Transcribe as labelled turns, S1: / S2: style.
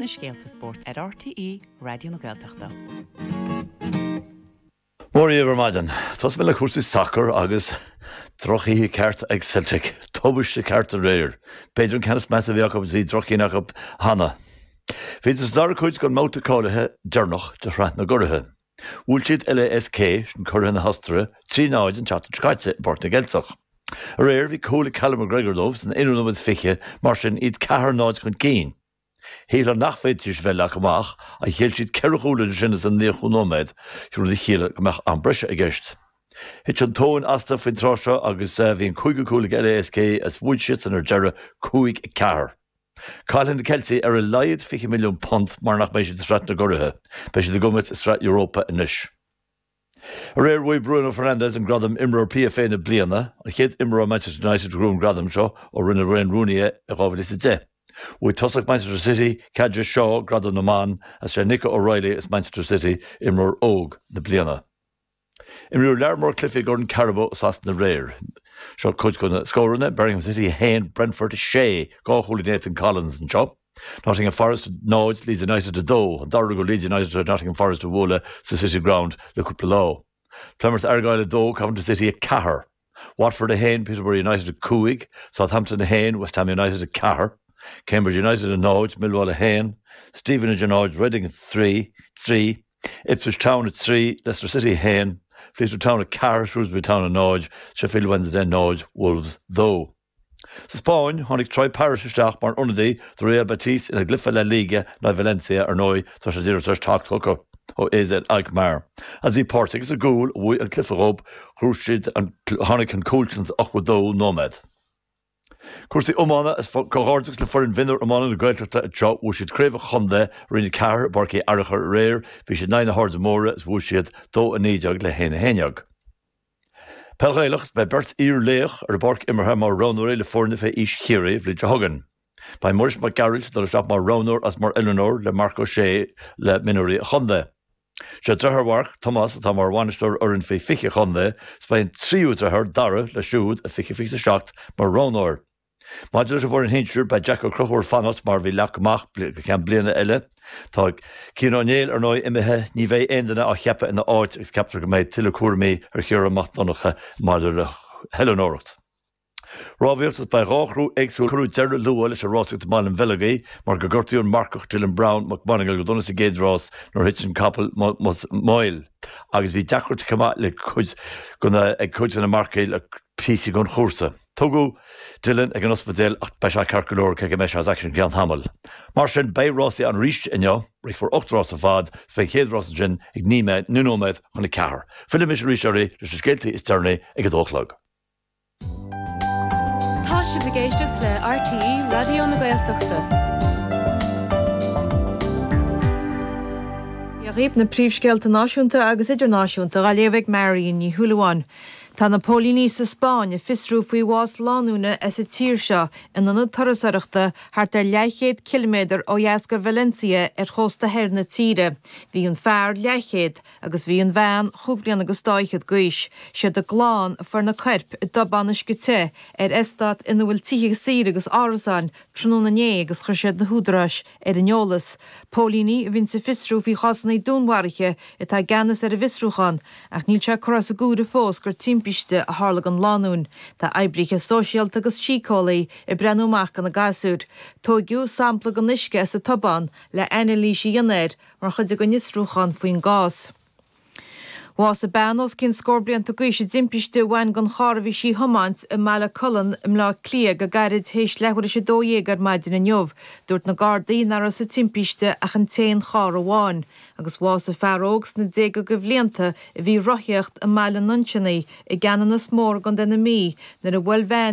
S1: na scéalta spóirt ar RTÉ Raidió na Gaeltachta.
S2: Mora dhaoibh ar maidin. Tosóidh mé le cúrsaí sacair agus drochoíche ceart ag Celtic. Tubaiste ceart aréir. B'fhéidir an ceann is measa a bhí acu agus bhí droch-chinn acu cheana. Bhíodar sa dara cuid den mbabhta cáilithe deireanach de Shraith na gCuraithe. Bhuail siad LASK, sin curaithe na hOstaire, 3, 0 an tseachtain seo caite i bPáirc na gCeilteach. Aréir bhí cúl ag Callum McGregor dóibh san aonú nóiméad is 20, mar sin iad 4, 0 chun cinn. Shílfeá nach bhféadfaidís a bheith leagtha amach, ach ghéill siad ceithre chúl idir sin is an naochadú nóiméad, rud a chiallaigh go mbeadh am breise i gceist. Thit an tóin astu faoin tráth seo agus bhí an cúigiú cúl ag LASK is bhuaigh siadsan ar deireadh, 5, 4. Caillfidh na Ceiltigh ar a laghad £20 milliún mar nach mbeidh siad i Sraith na gCuraithe. Beidh siad ag imirt i Sraith Europa anois. Aréir bhuaigh Bruno Fernandes an gradam Imreoir PFA na Bliana, an chéad imreoir Manchester United a ghnóthaigh an gradam seo ó rinne Wayne Rooney é i 2010. Bhuaigh tosach Manchester City, Kaja Shaw, gradam na mban, agus sé Nico O'Reilly as Manchester City Imreoir Óg na Bliana. Imríodh lear mór cluichí i gCorn Carabao i Sasana aréir. Seo cuid de na scóranna, Birmingham City 1, Brentford 6, dhá chúl ag Nathan Collins anseo. Nottingham Forest 0, Leeds United 2, an dara huair go Leeds United tar éis Nottingham Forest a bhualadh sa City Ground le cúpla lá. Plymouth Argyle 2, Coventry City 4, Watford 1, Peterborough United 5, Southampton 1, West Ham United 4, Cambridge United 0, Millwall 1, Stevenage 0, Reading 3, 3, Ipswich Town 3, Leicester City 1, Fleetwood Town 4, Shrewsbury Town 0, Sheffield Wednesday 0, Wolves 2. Sa Spáinn, tháinig Troy Parrott isteach mar ionadaí do Real Betis ina gcluiche La Liga in aghaidh Valencia, ar ndóigh tá sé díreach tar éis teacht chucu ó AZ Alkmaar. Agus bhí páirt aige sa gcúl a bhuaigh an cluiche dhóibh, tháinig an cúl sin sa 82ú nóiméad. Cúrsaí iomána is comhghairdeas le foireann mhionúir iomána na Gaeltachta anseo, bhuaigh siad craobh an chontae, Roinn 4 i bPáirc Uí Fhearachair aréir, bhí siad in aghaidh na hAirde Móire is bhuaigh siad 2-19 le 1-11. Peil Ghaelach, Beidh beirt iar-laoch ar an bpáirc imeartha mar roghnóirí le foirne fé aois Chiarraí an bhliain seo chugainn. Beidh Muiris Mac Gearailt ag dul isteach mar roghnóir agus mar oiliúnóir le Marc Ó Sé le mionúirí an chontae. Sé deartháir Mharc, Tomás, atá mar bhainisteoir fhoireann faoi 20 an chontae is beidh an tríú deartháir, Dara, leis siúd i 2027 mar roghnóir. Maidir leis an bhfoireann shinsir, beidh Jack Ó Conchúir fanacht mar a bhí leagtha amach go ceann bliana eile. Tá Cian Ó Néill, ar ndóigh, imithe, ní bheidh aon duine á cheapadh ina áit agus ceaptar go mbeidh tuilleadh cúraimí ar Chiarán Mac Donncha maidir le hoiliúnóireacht. Rámhaíocht Is beidh dhá chriú éagsúil Cuireadh deireadh luath leis an rásaíocht i mBaile an Bheilgigh mar gur gortaíodh an marcach Dylan Browne McMonagle go dona sa gcéad rás nuair a thit an capall Moyle agus bhí deacracht chomh maith le cuid ag cuid de na marcaigh le píosaí den chúrsa. Tugadh Dylan ag an ospidéal ach beidh sé ceart go leor cé go mbeidh sé as aicsean go ceann tamaill. Mar sin, beidh rásaí ann arís inniu, rithfear 8 rás ar fad is beidh an chéad rás ansin ag 9 nóiméad chun a ceathair. Fillfidh mise arís oraibh leis na scéaltaí is deireanaí ag a dó a chlog.
S3: Tá sibh ag éisteacht le RTÉ Raidió na Gaeltachta.
S4: Dia dhaoibh, na príomhscéalta náisiúnta agus idirnáisiúnta á léamh ag Marion Ní Shúilleabháin. Tá na póilíní sa Spáinn ag fiosrú faoi bhás lánúine as an tír seo in ionad turasóireachta thart ar leathchéad ciliméadar ó dheas de Valencia ar chósta thoir na tíre. Bhí an fear leathchéad agus bhí an bhean chúig bhliana agus dá fhichead d'aois. Siad a gclann a fuair na coirp i dtobán uisce te ar eastát ina bhfuil tithe saoire agus árasáin tráthnóna inné agus chuir siad na húdaráis ar an eolas. Póilíní a bhíonns ag fiosrú faoi chásanna dúnmharaithe atá i gceannas ar an bhfiosrúchán ach níl sé curtha as an gcomhaireamh fós gur timpiste a tharla don lánúin. Tá oibrithe sóisialta agus síceolaí ag breathnú amach do na gasúir. Tóigeadh sampla den uisce as an tobán le anailís a dhéanamh air mar chuid den fhiosrúchán faoin gcás. Bhásaigh bean os cionn scór blianta d'aois i dtimpiste a bhain den charr a bhí sí a thiomáint i mBaile Colann i mBleá Cliath go gairid théis leathuair théis a 12 ar maidin inniu. Dúirt na Gardaí nach raibh sa timpiste ach an t-aon charr amháin. Agus bhásaigh fear óg sna déaga de bhlianta a bhí ag rothaíocht i mBaile an Nuinseannaigh i gCeanannas Mór i gContae na Mí nuair a bhuail veain.